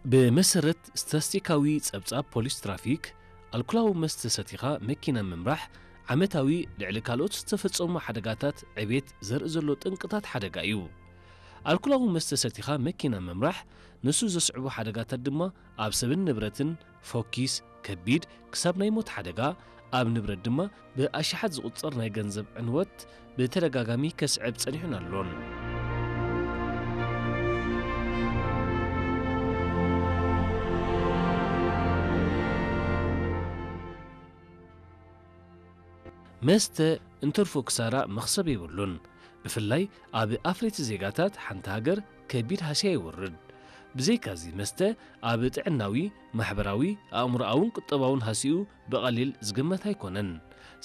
ብመሰረት ስታስቲካዊ ጸብጻብ ፖሊስ ትራፊክ፣ ኣልኮላዊ መስተ ሰቲኻ መኪና ምምራሕ ዓመታዊ ልዕሊ ካልኦት ዝተፈጸሙ ሓደጋታት ዕቤት ዘርኢ ዘሎ ጠንቅታት ሓደጋ እዩ። ኣልኮላዊ መስተ ሰቲኻ መኪና ምምራሕ ንሱ ዘስዕቦ ሓደጋታት ድማ ኣብ ሰብን ንብረትን ፎኪስ፣ ከቢድ ክሳብ ናይ ሞት ሓደጋ፣ ኣብ ንብረት ድማ ብኣሽሓት ዝቑጸር ናይ ገንዘብ ዕንወት ብተደጋጋሚ ከስዕብ ጸኒሑን ኣሎን። መስተ እንትርፎ ክሳራ መኽሰብ የብሉን። ብፍላይ ኣብ ኣፍረይቲ ዜጋታት ሓንቲ ሃገር ከቢድ ሃስያ የውርድ። ብዘይካዚ መስተ ኣብ ጥዕናዊ፣ ማሕበራዊ፣ ኣእምሮኣውን ቁጠባውን ሃስይኡ ብቐሊል ዝግመት ኣይኮነን።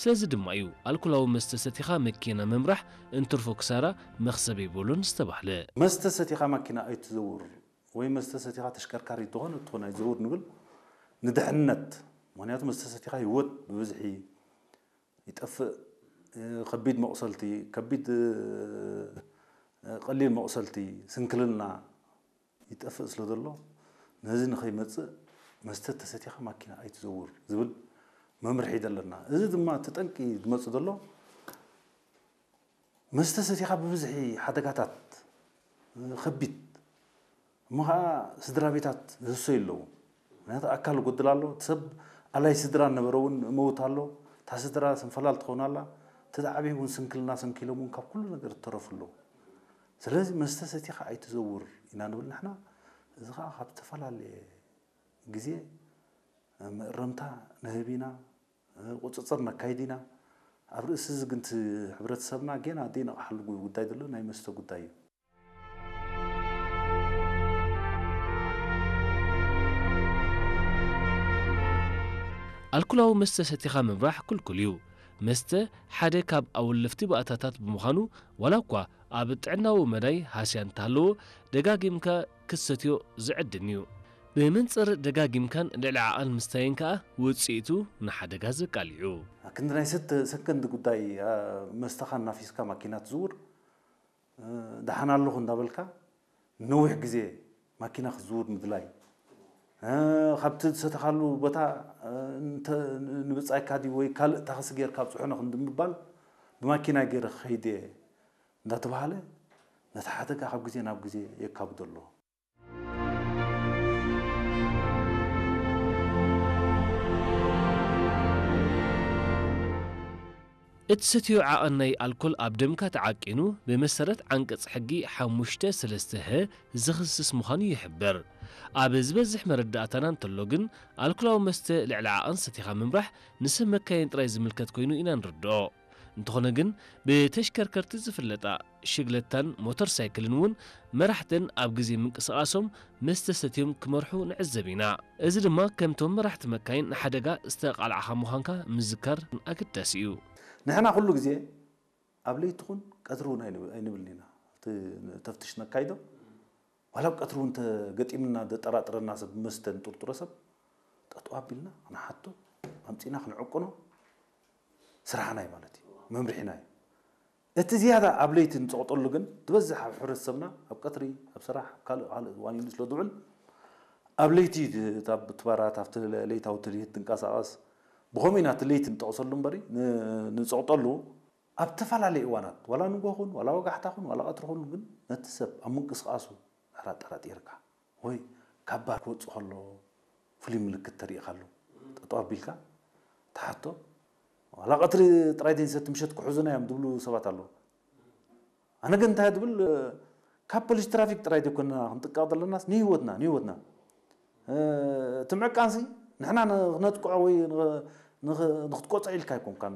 ስለዚ ድማ እዩ ኣልኮላዊ መስተ ሰቲኻ መኪና ምምራሕ እንትርፎ ክሳራ መኽሰብ የብሉን ዝተባህለ። መስተ ሰቲኻ ማኪና ኣይትዘውር ወይ መስተ ሰቲኻ ተሽከርካሪት ዝኾነ ትኾን ኣይትዘውር ንብል ንድሕነት። ምኽንያቱ መስተ ሰቲኻ ህይወት ብብዝሒ ይጠፍእ። ከቢድ መቑሰልቲ፣ ከቢድ፣ ቀሊል መቑሰልቲ፣ ስንክልና ይጠፍእ ስለ ዘሎ፣ ነዚ ንኸይመጽእ መስተ ተሰቲኻ ማኪና ኣይትዘውር ዝብል መምርሒ ደለና። እዚ ድማ እቲ ጠንቂ ዝመጽእ ዘሎ መስተ ሰቲኻ ብብዝሒ ሓደጋታት ከቢድ እሞ ኸዓ ስድራ ቤታት ዝህሰዩ ኣለዉ። ምኽንያቱ ኣካል ይጎድል ኣሎ፣ እቲ ሰብ ኣላይ ስድራ ነበረ እውን መውት ኣሎ፣ እታ ስድራ ስንፈላል ትኸውን ኣላ፣ እቲ ዝዓበየ እውን ስንክልና ሰንኪሎም እውን ካብ ኩሉ ነገር እተረፉ ኣለዉ። ስለዚ መስተ ሰቲኻ ኣይትዘውር ኢና ንብል ንሕና። እዚ ኸዓ ካብ ዝተፈላለየ ግዜ መእረምታ ንህብ ኢና፣ ቁፅፅር ነካይድ ኢና። ኣብ ርእሲ እዚ ግን እቲ ሕብረተሰብና ጌና ዘይነቕሓሉ ጉዳይ ዘሎ ናይ መስተ ጉዳይ እዩ። ኣልኮላዊ መስተ ሰቲኻ ምምራሕ ክልኩል እዩ። መስተ ሓደ ካብ ኣወለፍቲ ባእታታት ብምዃኑ፣ ዋላ እኳ ኣብ ጥዕናዊ መዳይ ሃስያ እንተሃለዎ፣ ደጋጊምካ ክትሰትዮ ዝዕድም እዩ። ብመንጽር ደጋጊምካን ልዕሊ ዓቐን ምስታይን ከኣ ውጽኢቱ ንሓደጋ ዘቃልዕ እዩ። ክንዲ ናይ ሰተ-፣ ሰከንድ ጉዳይ፣ ኣ፣ መስተኻ እናፊስካ ማኪና ትዝውር፣ እ፣ ደሓን ኣለኹ እንዳበልካ ነዊሕ ግዜ ማኪና ክትዝውር ምድላይ፣ እ፣ ካብቲ ዝሰተኻሉ ቦታ፣ እ፣ እንተ-፣ ንብጻይካ ድዩ ወይ ካልእ ታኽሲ ጌርካ ኣብጽሑኒ ክንዲ ምባል፣ ብማኪና ገይረ ክኸይድ እየ እንዳተባሃለ ነቲ ሓደጋ ካብ ግዜ ናብ ግዜ የካብዶ ኣሎ። እትሰትዮ ዓቐን ናይ ኣልኮል ኣብ ደምካ ተዓቂኑ ብመሰረት ዓንቀጽ ሕጊ ሓሙሽተ ሰለስተ ሀ ዝኽስስ ምዃኑ ይሕበር። ኣብ ዝበዝሕ መረዳእታና እንተሎ ግን፣ ኣልኮላዊ መስተ ልዕሊ ዓቐን ሰቲኻ ምምራሕ ንሰብ መካይን ጥራይ ዝምልከት ኮይኑ ኢና ንርድኦ። እንተኾነ ግን፣ ብተሽከርከርቲ ዝፍለጣ ሽግለታን ሞተር ሳይክልን እውን መራሕተን ኣብ ግዜ ምንቅስቓሶም መስተ ሰትዮም ክመርሑ ንዕዘብ ኢና። እዚ ድማ ከምቶም መራሕቲ መካይን ንሓደጋ ዝተቓልዓኻ ምዃንካ ምዝካር ኣገዳሲ እዩ። ንሕና ኩሉ ግዜ ኣብ ለይቲ ኹን ቀትሪ እውን ኣይንብ-፣ ኣይንብልን ኢና። እቲ ተፍትሽ ነካይዶ፣ ዋላ ኣብ ቀትሪ እውን ተገጢምና ዘጠራጥረና ሰብ፣ መስተ ንጥርጥሮ ሰብ ጠጠው ኣቢልና ክንሓቶ፣ ኣምጺእና ክንዕቅኖ ስራሕና እዩ ማለት እዩ፣ መምርሒና እዩ። እቲ ዝያዳ ኣብ ለይቲ ንጸቕጠሉ ግን፣ ትበዝሕ ኣብ ሕብረተሰብና ኣብ ቀትሪ፣ ኣብ ስራሕ፣ ኣብ ካልእ፣ ካልእ እዋን ኢሉ ስለ ዝውዕል፣ ኣብ ለይቲ እታ ብትባራት ኣብቲ ለይታዊ ትልሂት ትንቀሳቐስ። ብኸምኡ ኢና እቲ ለይቲ ንጠቕሰሉ እምበሪ፣ ን-፣ ንጸቕጠሉ ኣብ ተፈላለየ እዋናት፣ ዋላ ንጎ ኹን፣ ዋላ ወጋሕታ ኹን፣ ዋላ ቀትሪ ኹን፣ ግን ነቲ ሰብ ኣብ ምንቅስቓሱ ሕራ ጠራጢርካ፣ ወይ ካብ ባር ክወጽእ ከሎ ፍሉይ ምልክት ተሪእካሉ፣ ጠጠው ኣቢልካ ትሓቶ። ዋላ ቀትሪ ጥራይ ዘይንሰቲ ምሸት ክሕዙና እዮም ዝብሉ ሰባት ኣለዉ። ኣነ ግን እንታይ ዝብል፣ ካብ ፖሊስ ትራፊክ ጥራይ ዘይኮንና ክንጥቀቕ ዘለናስ ንህይወትና፣ ንህይወትና። እ፣ እቲ ምዕቃንሲ ንሕና ን-፣ ክነጥቅዖ ወይ ን-፣ ንኽ-፣ ንክትቆጾ ኢልካ ኣይኮንካን።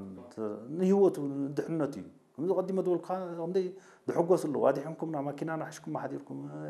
ንህይወቱ፣ ንድሕነቱ እዩ። ከምዚ ቀዲመ ዝበልኩኻ ክንደይ ዝሕጎሱ ኣለዉ። ኣድሒንኩምና፣ ማኪናና ሒዝኩማ ሓዲርኩም፣ እ፣